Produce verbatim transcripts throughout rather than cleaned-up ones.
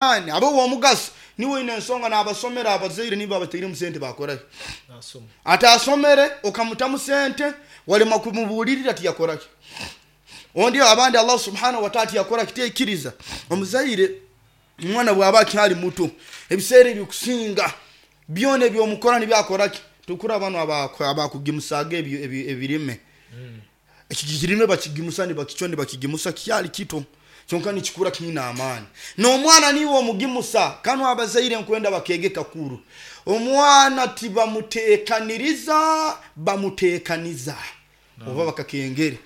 Abe womugaso niwe ine ensonga n'abasomera abazaire nibo abatairemu sente bakorayo. Nasoma. Atasomere okamutamu sente, walema kumubuulirira, tiyakoraki. Ondi abandi Allah subhanahu wa taala tiyakora kiteikiriza omuzaire. Omwana bwaba akyali muto, ebiseera ebikusinga byona ebyomukora nibyakoraki. Tukura bano abakugimusaga ebyo- ebyo- ebirime, eki kirime bakigimusa, nibakicwa, nibakigimusa kyali kito, kyonka nikikura kiine amaani. N'omwana niwe omugimusa. Kanu abazaire nkwenda bakege kakuru, omwana tibamuteekaniriza, bamuteekaniza oba bakakengere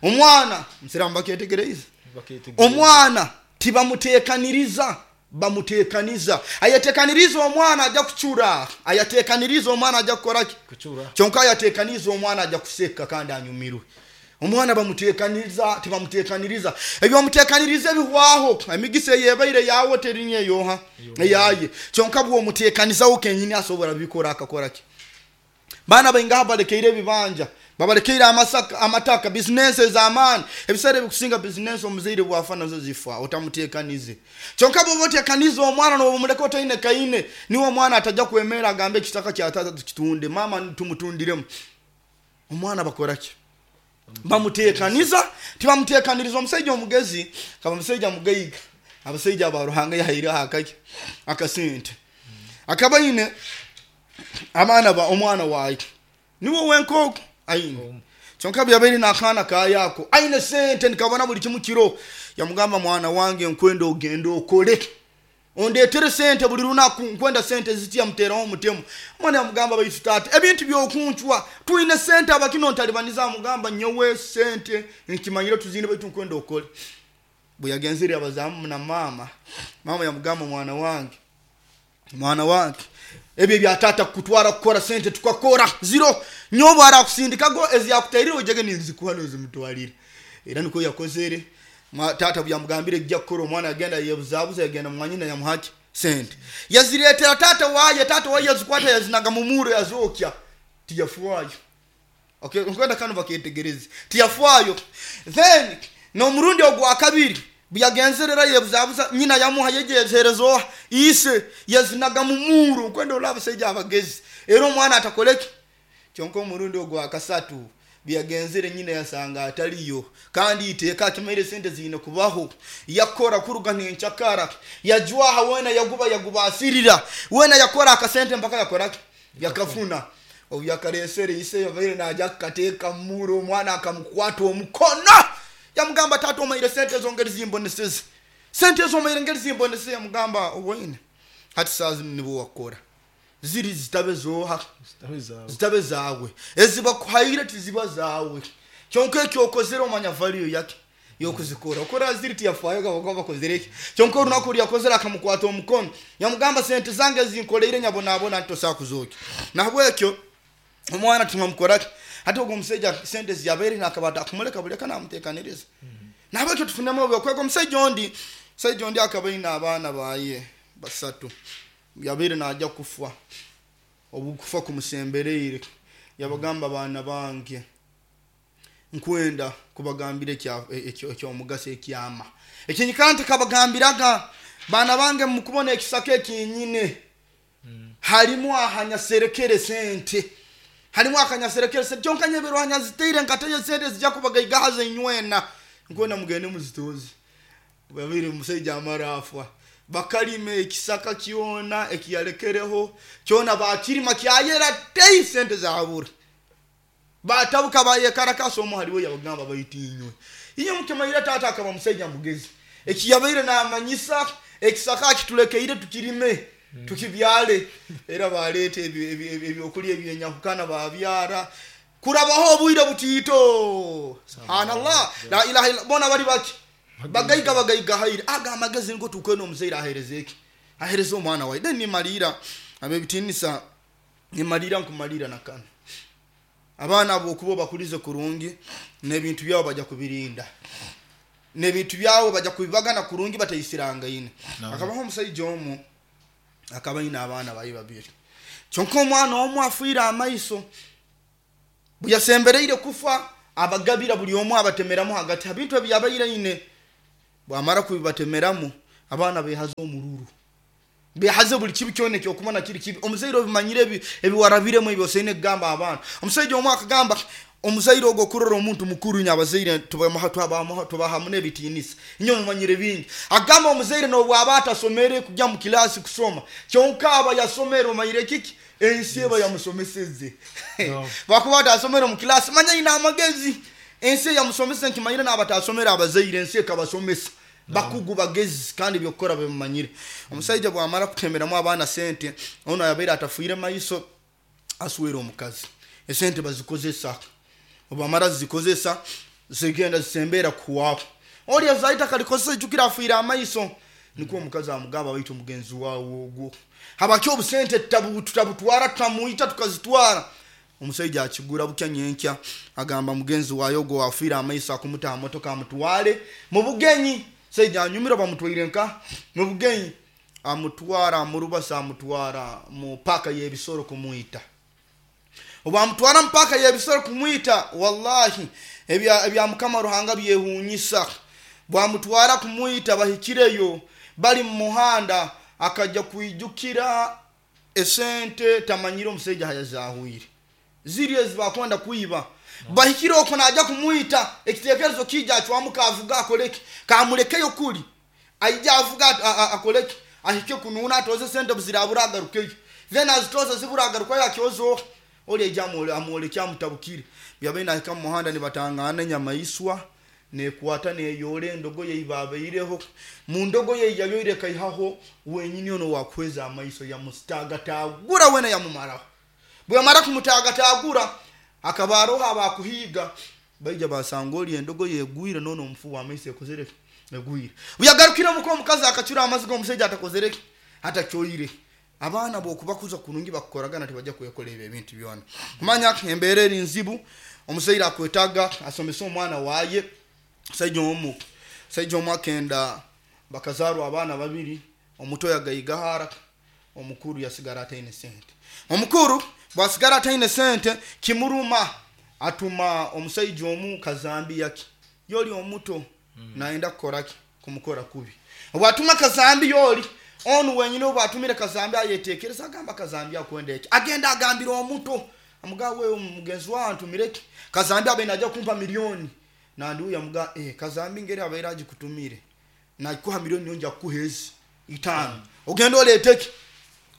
omwana nsiramu baketegereza. Baketegereza. Omwana tibamuteekaniriza, bamuteekaniza. Ayateekaniriza omwana ajja kucura, ayateekaniriza omwana ajja kukoraki? Kucura. Kyonka ayateekaniza omwana ajja kuseka kandi anyumirwe. Omwana bamuteekaniriza, tibamuteekaniriza. Ebyomuteekaniriza ebihwaho, emigisa eyebaire yawe terinye eyoha eyaye. Kyonka bwomuteekanizaho kenyini asobora bikora akakoraki. Baana baingaha balekeire ebibanja, babalekeire amasaka, amataka, bizinesi ez'amaani. Ebiseera ebikusinga bizinesi omuzaire bwafa nazo zifa otamuteekanize. Kyonka bwoba oteekanize omwana, nobumuleka otaine kaine, niwe omwana atajja kwemera agambe ekitaka kya tata tukitunde, mama tumutundiremu. Omwana bakoraki? Bamuteekaniza, tibamuteekaniriza. Omusaija omugezi kaba musaija mugaiga, abasaija aba Ruhanga yahaireho akaki akasente, akaba aine abaana ba omwana waye niwe wenkooko aine. Omu. Kyonka byabaire n'akaana kayako aine sente, nikabona buli kimu kiro. Yamugamba, "Mwana wange, nkwenda ogende okole ondeetere sente buli lunaku, nkwenda sente ziti." Yamuteraho omutemu. Omwana yamugamba, "Baitu taata, ebintu byokuncwa, twine sente, abakino ntalibaniza." Amugamba, "Nyowe sente nkimanyire tuzine, baitu nkwenda okole." Bwe yagenzere abazamu na mama, mama yamugamba, "Mwana wange, mwana wange, ebyo bya tata kukutwara kukora sente tukakora ziro, nyowe arakusindikago eziyakutairire ojege ninzikuha nozimutwalire." Era niko yakozere. Mwa- tata bweyamugambire ejja kukora, omwana yagenda yebuzabuza, yagenda mwanyina, yamuhaki sente, yaziretera tata waye. Tata waye yazikwata, yazinaga mumuro, yazokya, tiyafwayo. Okay, nkwenda kano baketegereze, tiyafwayo. Then n'omurundi ogwa kabiri buyagenzerera yebuzabuza, nyina yamuha, yejehereza oha ise, yazinaga mumuro. Nkwenda olaba abasajja abagezi, era omwana atakoleki. Kyonka omurundi ogwa kasatu byagenzere, nyina yasanga ataliyo, kandi iteeka akimaire sente ziine kubaho. Yakora kuruga nenkyakara, yajwaha wena, yaguba yagubasirira wena, yakora akasente mpaka yakoraki, yakafuna. Obu yakaresere ise, yabaire naja kukateeka mumuro, omwana akamukwata omukono, yamugamba, "Tata, omaire sente ezo ngeri zimboneseze, sente ezo omaire ngeri zimboneseze." Yamugamba, "Owaine hati saa zinu nibo wakora ziri zitabe zoha?" Zitabe zawe. Zitabe zawe. Ezibakuhaire tiziba zawe, kyonka ekyokozere omanya value yake yokuzikora okora ziri. Tiyafaayo gabaga bakozere eki. Kyonka orunaku ryakozere, akamukwata omukono, yamugamba, "Sente zange zinkoleire nyabonabona, ntosobola kuzokya." Nahabwekyo omwana tibamukoraki. Hati ogwo omusaija sente ziyabaire nakaba atakumuleka buleka namutekaniriza. Nahabwekyo tufunemu obwokwega. Omusaija ondi omusaija ondi akaba aine abaana baye basatu. Yabaire najya kufa, obukufa kumusembereire, yabagamba, "Baana bange, nkwenda kubagambira ekya- ekyo- ekyomugaso, ekyama ekinyikara ntikabagambiraga. Baana bange, mukubona ekisaka ekinyine, harimu ahanyaserekere sente, harimu akanyaserekere sente. Kyonka nyebero hanyaziteire nkatayo sente zijja kubagaigahaza inywena. Nkwenda mugende muzitoze." Babiri omusaija amara afa, bakalima ekisaka kyona ekiyalekereho kyona, bakirima kyayera tei, sente zabura. Batabuka bayekarakasa. Omu haliwe yabagamba, "Baitu inywe inywe mukimaire tata akaba musaija mugezi. Ekiyabaire namanyisa ekisaka akitulekeire tukirime tukibyale." Era baleeta ebyo- ebyo- ebyo- ebyokulya ebyenyahukana, babyara. Kurabaho obwire butiito, subhanallah, la ilaha illa, bona bali baki bagaiga, bagaiga haire. Aga amagezi nigo tukwena omuzaire ahereza eki ahereza omwana wawe. Then nimalira abebitinisa, nimalira nkumalira nakano. Abaana abo okuba obakulize kurungi, n'ebintu byabo bajja kubirinda, n'ebintu byabo bajja kubibagana kurungi bataisirangaine. Naam. Akabaho omusaija omu akaba aine abaana baye babiri. Kyonka omwana omu afiire amaiso. Bwe yasembereire kufa, abagabira buli omu, abatemeramu hagati ha bintu ebi yabaire aine. Bwamara kubibatemeramu Abaana behaze omururu, behaze buli kibi kyona ekyokumana kiri kibi. Omuzaire obimanyire ebi ebiwarabiremu ebyo osaine kugamba abaana. Omusaija omu akagamba omuzaire ogwo okurora omuntu mukuru, inye abazaire tubahamu n'ebitiinisa, inye mumanyire bingi. Agamba omuzaire n'obwaba atasomere kujya mu kilasi kusoma, kyonka aba yasomere omanyire kiki ensi eba yamusomeseze. Bakuba atasomere mu kilasi, manya ina amagezi ensi yamusomesa. Nkimanyire n'abatasomere abazaire ensi ekabasomesa, bakugu bagezi kandi byokukora bimumanyire. Omusaija bwamara kutemeramu abaana sente, ono yabaire atafuire maiso aswera omukazi, esente bazikozesa. Obamara zikozesa zigenda zisembera kuwaho oli azaita kalikozesa, ijukira afuire amaiso. Nikwo omukazi amugamba, baitu omugenzi wawe ogwo habaki obusente tutabutwara tutamuita tukazitwara. Omusaija akigura bukya nyenkya agamba mugenzi wayo ogwo wafiire amaiso akumuta aha motoka amutwale mu bugenyi. Saija anyumira bamutwaire nka mu bugenyi, amutwara amurubasa amutwara mu paka y'ebisoro kumwita. Obamutwara mu paka y'ebisoro kumwita, wallahi ebya ebya Mukama Ruhanga byehunyisa. Bwamutwara kumwita, bahikireyo bali mu muhanda, akajja kwijukira esente tamanyire omusaija hayazahwire ziri ezi bakwenda kuiba. Bahikire okwo naja kumwita, ekitekerezo kija acwamuka avuga akoleki kamulekeyo kuli aija avuga akoleki ahike kununa atoze sente buzirabura agarukeyo, then azitoza zibura agarukayo akyozo oli aija amwolekya amutabukire. Byabaine ahika mu muhanda nibatangana enyamaiswa nekwata neyora endogoye ibabaireho mu ndogoye yayoire kaihaho wenyini ono wakweza amaiso yamutagatagura wena yamumaraho. Bwamara kumutagatagura akaba aroho abakuhiga baija basanga oli endogoye egwire nono omufu w'amaiso ekozere egwire. Buyagarukire muko omukazi akacura amaziga omusaija atakozereki atakyoire. Abaana bwokubakuza kurungi bakukoragana tibajja kwekola ebyo ebintu byona. Manya embeera eri nzibu, omuzaire akwetaga asomese omwana waye. Saija omu saija omu akenda bakazarwa abaana babiri, omuto yagaigahara omukuru yasigara ataine sente. Omukuru bwasigara ataine sente kimuruma, atuma omusaija omu kazambi yake yoli omuto mm. naenda kukoraki kumukora kubi. Obwatuma kazambi yoli onu wenyine obwatumire kazambi ayetekereza agamba kazambi akwenda eki, agenda agambira omuto amugawe omugenzi wawe antumireki kazambi abe naja kumpa milioni nandiuya muga eh kazambi ngeri abaire agikutumire nakuha milioni yonja kukuhezi itano ogenda oleteki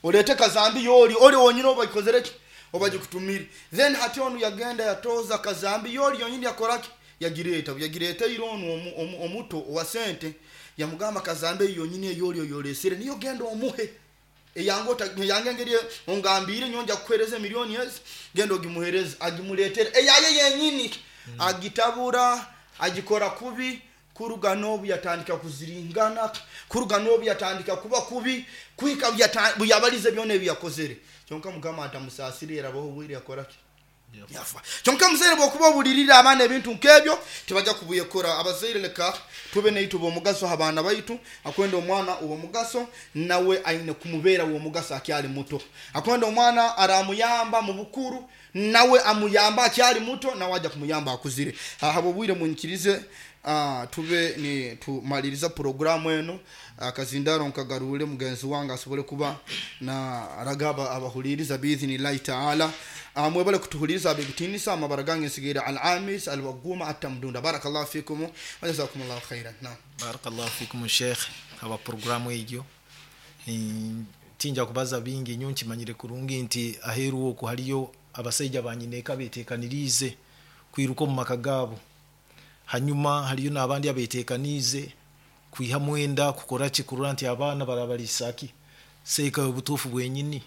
olete kazambi yoli oli wonyine obakozereki obagikutumire. Then hati onu yagenda yatoza kazambi yoli yonyini yakoraki yagireta yagireta ironu omuto wa sente yamugamba kazambi yonyini eyoli oyolesere niyo genda omuhe eyango yange ngeri ongambire nyonja kuhereza milioni ezi genda ogimuhereza agimuletere eyaye yenyini mm. agitabura agikora kubi. Kuruga nobu yatandika kuziringana, kuruga nobu yatandika kuba kubi kwika buyabalize byona ebiyakozere. Kyonka Mukama atamusasire yarabaho bwire yakoraki yafa. Kyonka muzaire bwokuba obulirira abaana ebintu nkebyo tibajja kubuyekora. Abazaire leka tube neitu bomugaso abaana baitu. Akwenda omwana owomugaso nawe aine kumubera owomugaso akyali muto. Akwenda omwana aramuyamba mu bukuru nawe amuyamba akyali muto nawe aja kumuyamba akuzire. Habo bwire munyikirize Uh, tube ni tumaliriza programu eno. uh, kazindaro nkagarule mugenzi wange asobole kuba na ragaba abahuliriza biidhinillahi taala. uh, mwebale kutuhuliriza abebitinisa amabara gange nsigaire al-amis al-waguma atamdunda. Barakallahu fikum wa jazakumullahu khairan. Naam, barakallahu fikum sheikh aba programu egyo tinja kubaza bingi nyo nkimanyire kurungi nti aheru oku haliyo abasaija banyineka betekanirize kwiruka mu maka gabo. Hanyuma haliyo n'abandi abetekanize kwiha mwenda kukora kikurura nti abaana barabalisaki seka obutufu bwenyini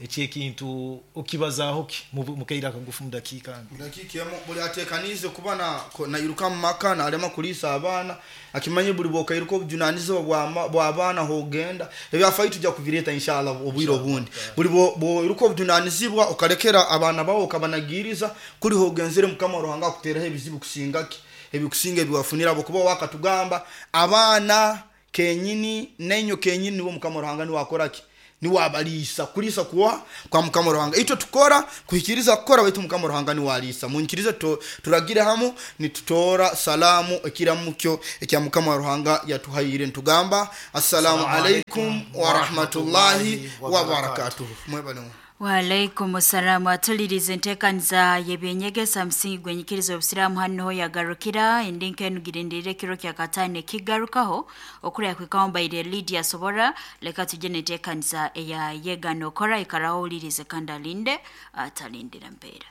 eki ekintu okibazaho ki mukaira kagufu mudakika mudakika emo buli atekanize kuba na nairuka mu maka nalema kulisa abaana akimanye buli bokairuka obujunanizibwa bwa bwa abaana hogenda ebyafai tujja kuvireta inshallah obwiro obundi. Buli bwoiruka obujunanizibwa okalekera abaana bawo okabanagiriza kuli hogenzere Mukama Ruhanga akuteraho ebizibu kusingaki ebikusinga ebiwafunira abo kuba wakatugamba abaana kenyini nenyo kenyini nibo Mukama Ruhanga niwe akoraki Niwe abaliisa. Kuliisa kuwa kwa Mukama Ruhanga. Itwe tukora kuhikiriza kukora, baitu Mukama Ruhanga niwe aliisa. Munyikirize tu- turagire hamu nitutora salamu ekiramukyo ekya Mukama Ruhanga yatuhaire, nitugamba assalamu alaikum warahmatullahi wabarakatuhu. Mwebale. Waalaikum salamu. Atuliriza enteekaniza y'ebyenyegesa musingi gwenyikiriza obusiraamu hano yagarukira endinka enu girindire ekiro kya kataano ekigarukaho okurya kwikaho mbaire Lydia Sobora. Leka tujye n'enteekaniza eya yega nokora, ikaraho owulirize kandi alinde atalindira mpeera.